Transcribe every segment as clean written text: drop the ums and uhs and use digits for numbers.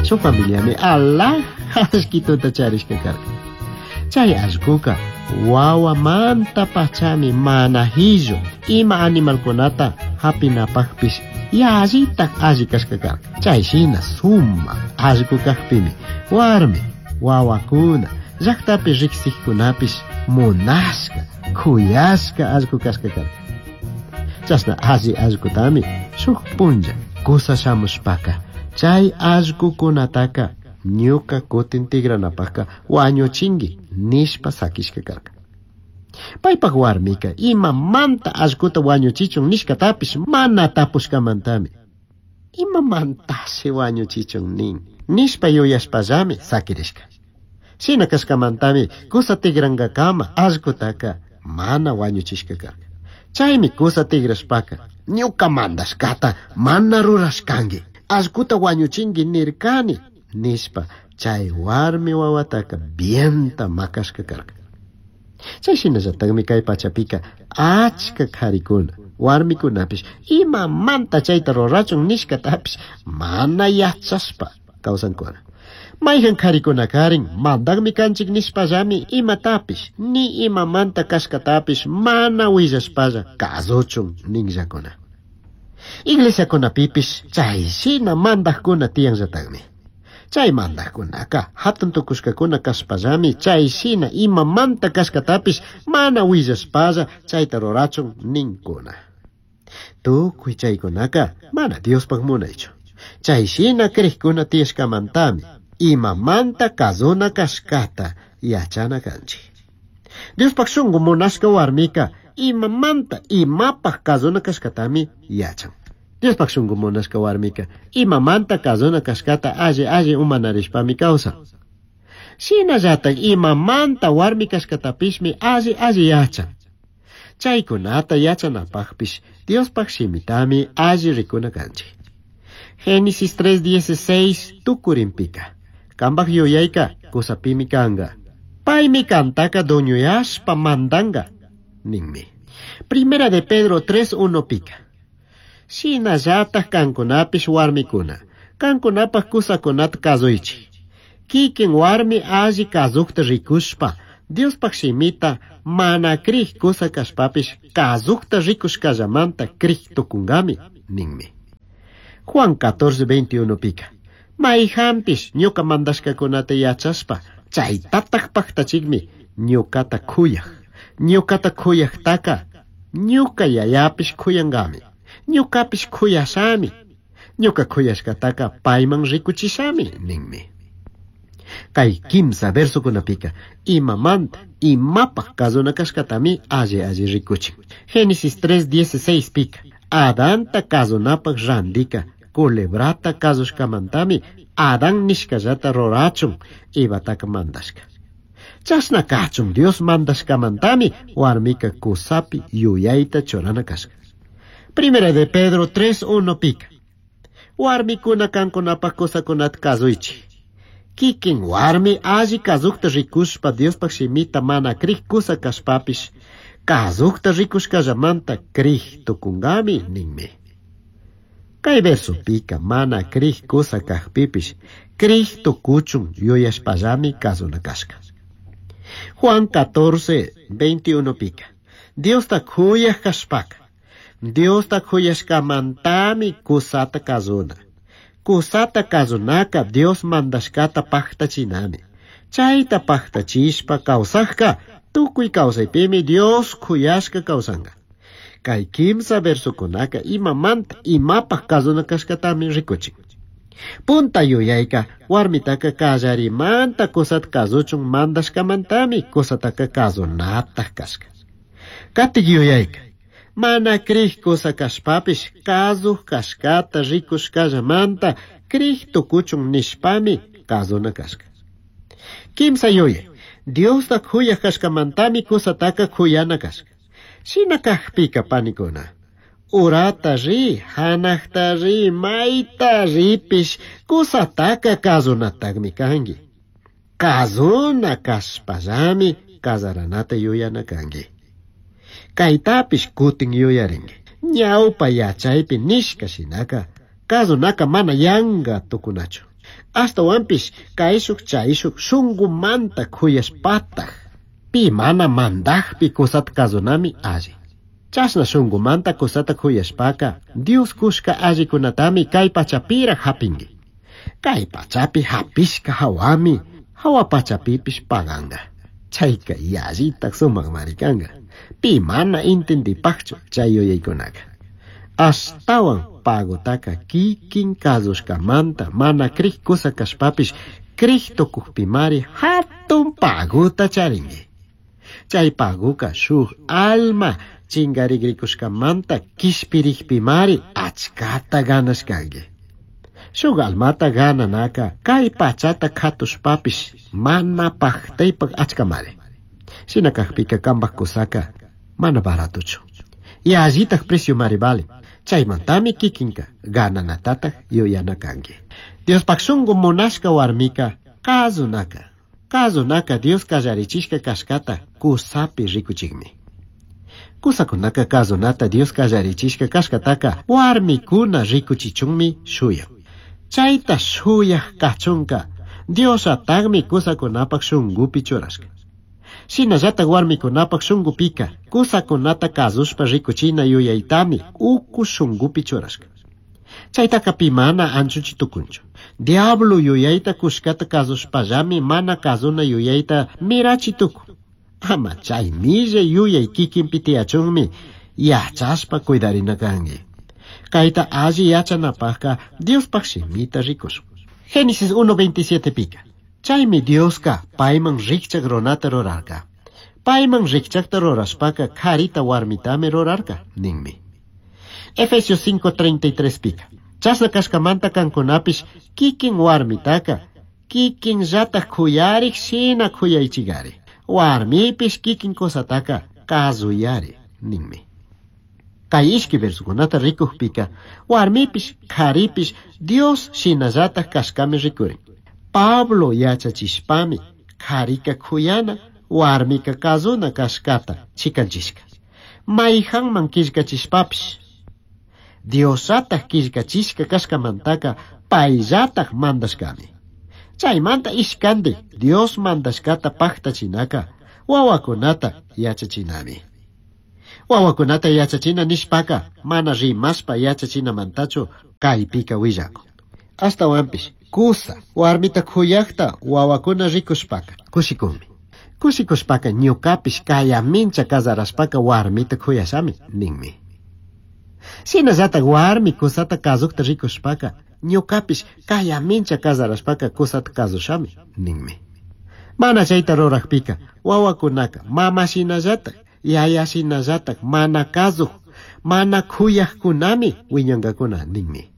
Shuk familiami alhaja allquituta charishka karka. Chay allquka wawamanta pachami mana hillu ima animalkunata hapinapaqpish yallitaj alli kashka karka. Chay shina sumaq allqu kaqpimi warmi wawakuna llaqtapi riqsiqkunapish munashka khuyashka allqu kashka karka. Chashna alli allqutami shuk punlla kusa shamushpaka chay allqukunataka ñuka kutin tigranapaqka wañuchinki nishpa sakishka karka. Paypaq warmika imamanta allquta wañuchichun nishkatapish mana tapushkamantami. Imamantashi wañuchichun nin nishpa yuyashpallami sakirishka. Shina kashkamantami kusa tigrankakama allqutaka mana wañuchishka karka. Chaymi kusa tigrashpaka ñuka mandashkata mana rurashkanki allquta wañuchinki nirkani nishpa chay warmi wawataka bienta makashka karka. Chay shinallataqmi kay pachapika achka qharikuna warmikunapish imamanta chayta rurachun nishkatapish mana yachashpa kawsankuna. Mayqan qharikuna karin mandaqmi kanchik nishpallami imatapish ni imamanta kashkatapish mana willashpalla kasuchun ninllakuna. Iglesiakunapipish chay shina mandaqkuna tiyanllataqmi. Chay mandaqkunaka hatun tukushkakuna kashpallami chay shina imamanta kashkatapish mana willashpalla chayta rurachun ninkuna. Tukuy chaykunaka mana Diospaq munaychu. Chay shina kriqkuna tiyashkamantami imamanta kazuna kashkata yachana kanchik. Diospaq shunqu munashka warmika imamanta imapaq kazuna kashkatami yachan. Diospaq shunqu munashka warmika imamanta kazuna kashkata alli alli umanarishpami kawsan. Shinallatak imamanta warmi kashkatapishmi alli alli yachan. Chaykunata yachanapaqpish Diospaq shimitami alli rikuna kanchik. Génesis 3:16 tukurinpika. Kambaq yuyayka kusapimi kanka. Paymi kantaka dueñoyashpa mandanga ninmi. Primera de Pedro 3:1 pika. Shinallataq kankunapish warmikuna. Kankunapaq kusakunata kasuychik. Kikin warmi alli kasuqta rikushpa Diospaq shimita mana kriq kusa kashpapish kasuqta rikushkallamanta kriq tukunkami ninmi. Juan 14:21 pika. Mayqanpish ñuka mandashkakunata yachashpa chaytataq paqtachikmi ñukata khuyaq. Ñukata khuyaqtaka ñuka yayapish khuyankami. Ñukapish khuyashami. Ñuka khuyashkataka payman rikuchishami ninmi. Kay kimsa versokunapika imamanta imapaq kazuna kashkatami alli alli rikuchin. Génesis 3:16 pika Adanta kazunapaq randika culebrata kasushkamantami Adán nishkallata rurachun Evataka mandashka. Chashna kachun Dios mandashkamantami warmika kusapi yuyayta churana kashka. Primera de Pedro 3:1 pika. Warmikuna kankunapaq kusakunata kasuychik. Kikin warmi alli kasuqta rikushpa Diospaq shimita mana kriq kusa kashpapish kasuqta rikushkallamanta kriq tukunkami ninmi. Kay versopika mana kriq kusa kaqpipish kriq tukuchun yuyashpallami kasuna kashka. Juan 14:21 pika. Diosta khuyaq kashpaka. Diosta khuyashkamantami kusata kasuna. Kusata kasunaka Dios mandashkata paqtachinami. Chayta paqtachishpa kawsaqka tukuy kawsaypimi Dios khuyashka kawsanka. Kay kimsa versokunaka imamanta imapaq kasuna kashkatami rikuchin. Punta yuyayka warmitaka kallarimanta kusata kasuchun mandashkamantami kusataka kasunataq kashka. Katik yuyayka mana kriq kusa kashpapish kasuq kashkata rikushkallamanta kriq tukuchun nishpami kasuna kashka. Kimsa yuyay Diosta khuyaq kashkamantami kusataka khuyana kashka. Shina kaqpika panikuna. Urata ri, hanaqta ri, mayta ripish kusataka kasunataqmi kanki. Kasuna kashpallami kasaranata yuyana kanki. Kaytapish kutin yuyarinki. Ñawpa yachaypi nishka shinaka kasunaka mana yanka tukunachu. Ashtahuanpish caishuj chaishuj shungumanta cuyashpataj pi mana mandajpi cusata kazunami alli. Chashna shungumanta cusata cuyashpaca Dios cushca allicunatami kay pachapiraj japinki. Kay pachapi japishka hawami hawa pachapipish paganga. Chayka yallitaj sumakmari kanka. Pi mana intindipakchu chay yuyaykunaka. Ashtawan pagotaka kikin kazushkamanta mana krij kusa kashpapish krij tukukpimari hatun paguta charinki. Chay paguka shuk alma chingarigrikuskamanta kishpirikpimari achkata ganashkanki. Shuk almata gananaka kay pachata katushpapish mana paktaypak achkamari. Shina kakpika kambak kusaka mana baratochu. Yallitaj precio mari vale. Chaymantami kikinka gananatataj yuyana kanki. Diospaj shungu munashka warmika kazunaka. Kazunaka Dios kallarichishka kashkata kusapi rikuchikmi. Kusakunaka kazunata Dios kallarichishka kashkataka warmikuna rikuchichunmi shuyan. Chayta shuyaj kachunka Diosatagmi kusakunapak shungupi churashka. Shinallatak warmikunapak shungupika kusakunata kazushpa rikuchina yuyaytami uku shungupi churashka. Chaytaka pi mana anchuchi tukunchu. Diablo yuyayta kushkata kazushpallami mana kazuna yuyayta mirachi tukun. Ama chay millay yuyay kikinpi tiyachunmi yachashpa cuidarina kanki. Kayta alli yachanapajka Diospaj shimita rikushun. Génesis 1.27 pika. Chaymi Dioska payman rikchak runata rurarka. Payman rikchakta rurashpaka karita warmitami rurarka ninmi. Efesios 5.33 pika. Chashna kashkamanta kankunapish kikin warmitaka kikin llataj kuyarik shina kuyaychigari. Warmipish kikin kusataka kazuyari ninmi. Kay ishki versukunata rikukpika warmipish karipish Dios shinallataj kashkami rikurin. Pablo yachachishpami karika kuyana warmika kazuna kashkata chikanchishka. Mayhanman killkachishpapish Diosataj killkachishka kashkamantaka payllataj mandashkami. Chaymanta ishkandik Dios mandashkata paktachinaka wawakunata yachachinami. Wawakunata yachachina nishpaka mana rimashpa yachachinamantachu kaypika willakun. Ashtawanpish kusa warmita kuyakta wawakuna rikushpaka kushikunmi. Kushikushpaka ñukapish kayamincha kasarashpaka warmita kuyashami ninmi. Shinallatak warmi kusata kazukta rikushpaka ñukapish kayamincha kasarashpaka kusata kazushami ninmi. Mana chayta rurakpika wawakunaka mama shinallatak yaya shinallatak mana kazuj mana kuyakkunami wiñankakuna ninmi.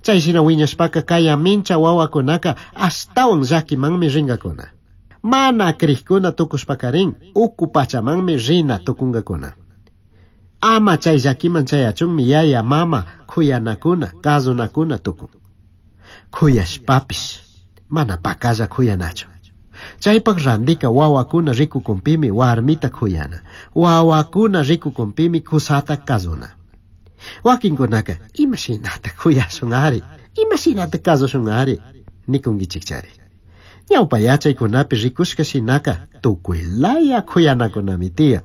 Chay shina wiñashpaka kayamincha wawakunaka ashtawan llakimanmi rinkakuna. Mana krikuna tukushpakarin uku pachamanmi rina tukunkakuna. Ama chay llakiman chayachunmi yaya mama kuyanakuna kazunakuna tukun. Kuyashpapish mana pakalla kuyanachu. Chaypak randika wawakuna rikukunpimi warmita kuyana. Wawakuna rikukunpimi kusata kazuna. Wakinkunaka imashinata kuyashun ari, imashinata kazushun ari, nikunkichikchari. Ñawpa yachaykunapi rikushka shinaka tukuylaya kuyanakunami tiyan.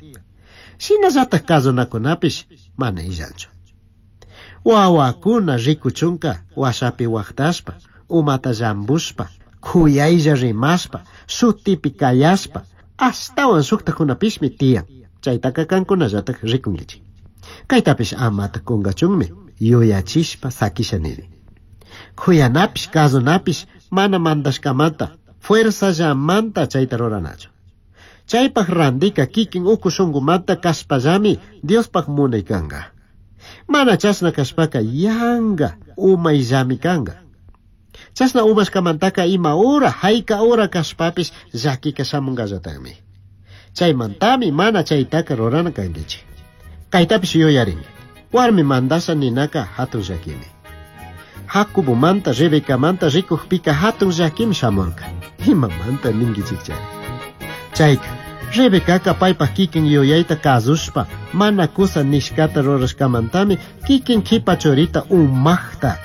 Shinallataj kazunakunapish mana illanchu. Wawakuna rikuchunka washapi waqtashpa, umata llambushpa, kuyaylla rimashpa, shutipi kayashpa, ashtawan shuktakunapishmi tiyan. Chaytaka kankunallataj rikunkichik. Kaytapish amata kunkachunmi yuyachishpa sakisha nini. Kuyanapish kazunapish mana mandashkamanta fuerzallamanta chayta ruranachu. Chaypaj randika kikin uku shungumanta kashpallami Diospaj munay kanka. Mana chashna kashpaka yanga umayllami kanka. Chashna umashkamantaka ima ura hayka ura kashpapish llakika shamunkallatakmi. Chaymantami mana chaytaka rurana kankichik. Kaytapish yuyarinki. Warmi mandasha ninaka hatun llakimi. Jacobomanta Rebecamanta rikukpika hatun llakimi shamurka. Imamanta ninkichikchari. Chayka Rebecaka paypaj kikin yuyayta kazushpa mana kusa nishkata rurashkamantami kikin kipa churita umaqta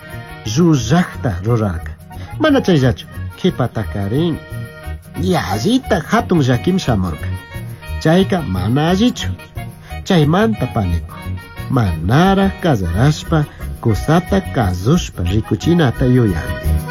llullaqta rurarka. Mana chayllachu, qhipatakarin yallita hatun llakim shamurka. Chayka mana allichu. Chaymanta paniku. Manaraj casarashpa kusata kasushpa rikuchinata yuyani.